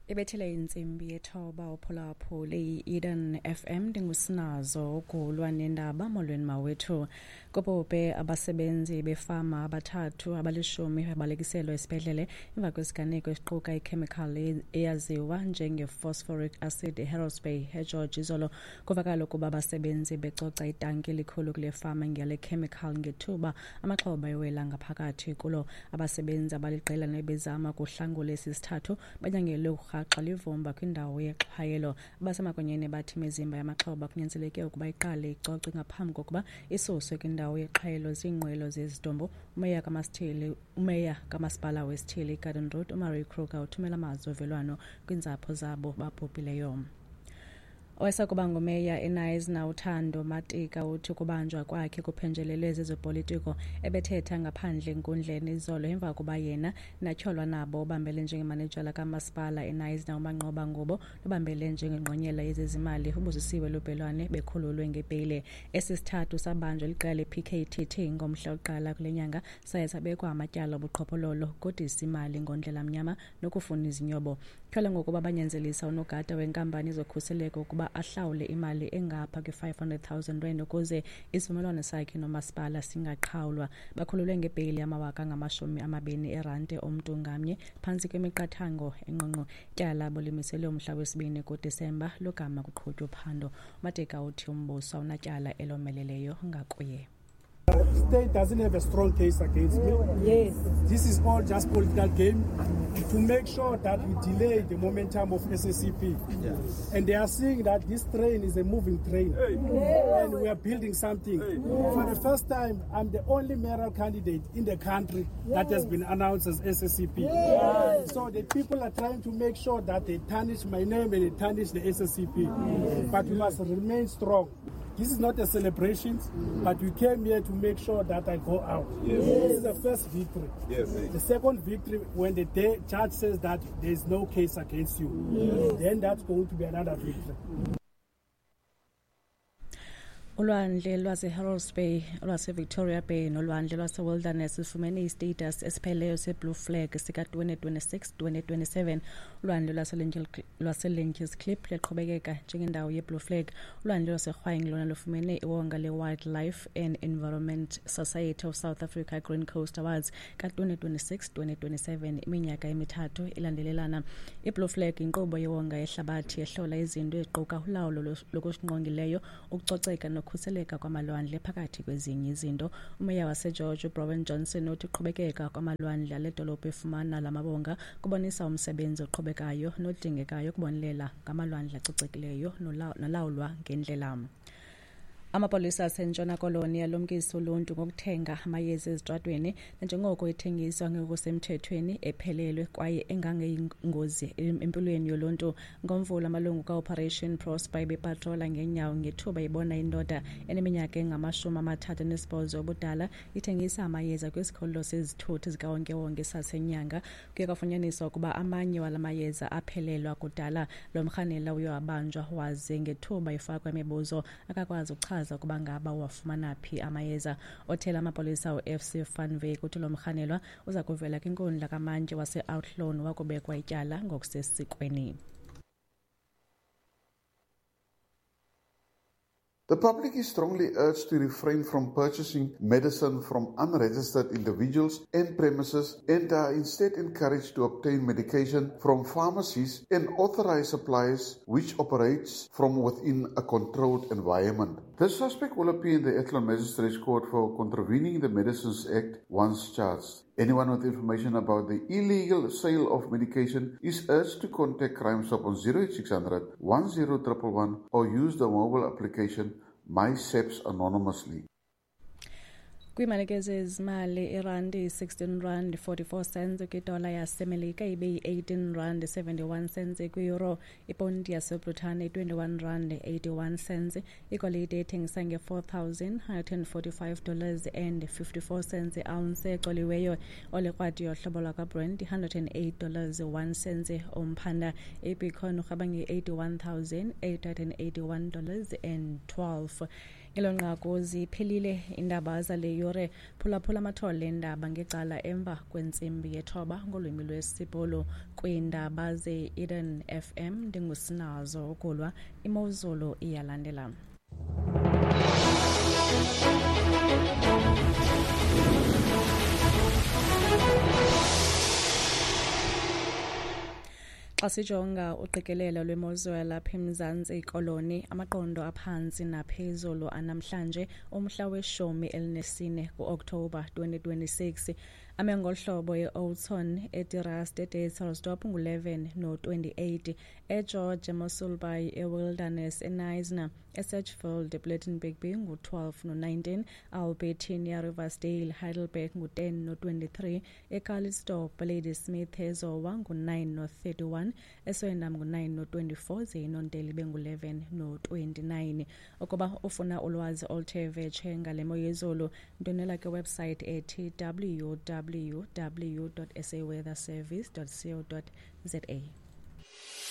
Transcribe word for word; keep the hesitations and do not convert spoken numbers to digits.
Ibethele intsimbi yethoba uphulaphule i-Eden F M. Ndingusinazo ugulwa nendaba. Molweni mawethu. Kubhubhe abasebenzi befama abathathu abalishumi babalekiselwa esibhedlele emva kwesiganeko esiquka ikhemikhali eyaziwa njenge-phosphoric acid eHerolds Bay eGeorge izolo. Kuvakala ukuba abasebenzi becoca itanki elikhulu kule fama ngale chemical ngethuba amaxhoba ewela ngaphakathi kulo. Abasebenzi abaliqela nebezama ukuhlangula esi sithathu banyangelwe ukurhaxa livumba kwindawo yexhwayelo. Abasemagunyeni bathi imizimba yamaxhoba kunyanzeleke ukuba iqale icocwe ngaphambi kokuba isuswe kwindawo yexhwayelo ziinqwelo zezidumbu. Umeya kaMasithili, umeya kamasipala wesithili iGarden Road uMurray Kruger uthumela amazwi ovelwano kwiintsapho zabo babhubhileyo. Owayesakuba ngumeya eKnysna uThando Matika uthi ukubanjwa kwakhe kuphenjelelwe zezopolitiko. Ebethetha ngaphandle enkundleni izolo emva kokuba yena natyholwa nabo obambele njengemanejala kamasipala eKnysna uManqoba Ngubo nobambele njengengqonyela yezezimali uBusisiwe Lubhelwane bekhululwe ngebheyile. Esi sithathu sabanjwa liqela le-P K T T ngomhla wokuqala kule nyanga, saye sabekwa amatyala obuqhophololo, ukodisa imali ngondlela mnyama nokufuna izinyobo. Tyholwa ngokuba banyanzelisa unogada wenkampani yezokhuseleko ukuba ahlawule imali engapha kwi-five hundred thousand rand ukuze isivumelwano sakhe nomasipala singaqhawulwa. Bakhululwe ngebheyili yamawaka angamashumi amabini erandi omntu ngamnye phantsi kwemiqathango engqongqo. Ityala bolimiselwe umhla wesibini kuDisemba logama kuqhutywa uphando. Matika uthi umbuso awunatyala elomeleleyo ngakuye. The state doesn't have a strong case against me. Yes. This is all just political game to make sure that we delay the momentum of S A C P. Yes. And they are seeing that this train is a moving train. Hey. And we are building something. Hey. For the first time, I'm the only mayoral candidate in the country that has been announced as S A C P. Yes. So the people are trying to make sure that they tarnish my name and they tarnish the S A C P. Yes. But we must remain strong. This is not a celebration, but we came here to make sure that I go out. Yes. This is the first victory. Yes. The second victory, when the day judge says that there is no case against you, yes, then that's going to be another victory. Ulwandle lwaseHerolds Bay, lwaseVictoria Bay nolwandle lwaseWilderness lufumene istatus esipheleleyo seBlue Flag sika twenty twenty-six twenty twenty-seven. Ulwandle lwaseLeentjiesklip luqhubekeka njengendawo yeBlue Flag. Ulwandle lwaseRhwaing lona lufumene iwonga leWildlife and Environment Society of South Africa Green Coast Awards ka twenty twenty-six twenty twenty-seven, iminyaka emithathu ilandelelana. IBlue Flag inkqubo yewonga yehlabathi ehlola izinto eziquka ulawulo lokusingqongileyo, ukucoceka nokukhuseleka kwamalwandle phakathi kwezinye izinto. Umeya waseGeorge uBrowen Johnson uthi uqhubekeka kwamalwandle ale dolophu efumana la mabonga kubonisa umsebenzi oqhubekayo nodingekayo ukubonelela ngamalwandle acocekileyo nolawulwa ngendlela. Amapolisa aseNtshona Koloni alumkisa uluntu ngokuthenga amayeza ezitratweni nanjengoko ethengiswa ngokusemthethweni ephelelwe kwaye engangeyingozi empilweni yoluntu. Ngomvulo amalungu kaOperation Prosper ebepatrola ngeenyawo ngethuba ibona indoda eneminyaka engamashumi amathathu anesibhozo ubudala ithengisa amayeza kwisikhululo sezithuthi zikawonkewonke saseNyanga. Kuye kwafunyaniswa ukuba amanye wala mayeza aphelelwa kudala. Lo mrhanela uye wabanjwa waze ngethuba efakwa imibuzo akakwazi ukuchaza ukuba ngaba wafumana phi amayeza. Othela amapolisa u-F C Van Wyk uthi lo mrhanelwa uza kuvela kwinkundla kamantyi wase-Outlawn wakubekwa ityala ngokusesikweni. The public is strongly urged to refrain from purchasing medicine from unregistered individuals and premises and are instead encouraged to obtain medication from pharmacies and authorized suppliers which operates from within a controlled environment. The suspect will appear in the Athlone Magistrates Court for contravening the Medicines Act once charged. Anyone with information about the illegal sale of medication is urged to contact Crime Stop on zero eight six hundred, one zero one one one or use the mobile application MySEPS anonymously. Kwiimalike zezimali, irandi sixteen rand forty-four cents kwidola yaseMelika ibe yi-eighteen rand seventy-one cents kwi-euro, iponti yaseBritane twenty-one rand eighty-one cents, igolide ethengisa nge-four thousand hundred and forty-five dollars and fifty-four cents ounce ecoliweyo, olekrwati yohlobo lwakwaBrent hundred and eight dollars one cent umphanda, iBitcoin urhaba nge-eighty-one thousand eight hundred and eighty-one dollars and twelve. Ngelo nqaku ziphelile iindaba zale yure. Phulaphula amathole eendaba ngecala emva kwentsimbi yethoba ngolwimi lwesiBhulu. Kwiindaba ze-Eden F M ndingusinazo ukulwa. Imozulu iyalandela. Xa sijonga uqikelelo lwemozulu lapha eMzantsi Koloni, amaqondo aphantsi naphezulu anamhlanje umhla weshumi elinesine kuOkthobha twenty twenty-six. Ame ngolu hlobo: eOudtshoorn, eTirasta, eDeyselsdorp ngu-eleven no-twenty-eight, eGeorge, eMossel Bay, eWilderness, eKnysna, eSedgefield, ePlettenberg Bay ngu-twelve no-nineteen, Albertinia, Riversdale, Heidelberg ngu-ten no-twenty-three, eCalitzdorp, Ladysmith, eZowa ngu-nine no-thirty-one, eSwellendam ngu-nine no-twenty-four, ze iNonteli ibe ngu-eleven no-twenty-nine. Ukuba ufuna ulwazi oluthe vetshe ngale mo yezulu, ndwendwela kwiwebsite ethi w w w dot s a weather service dot co dot z a.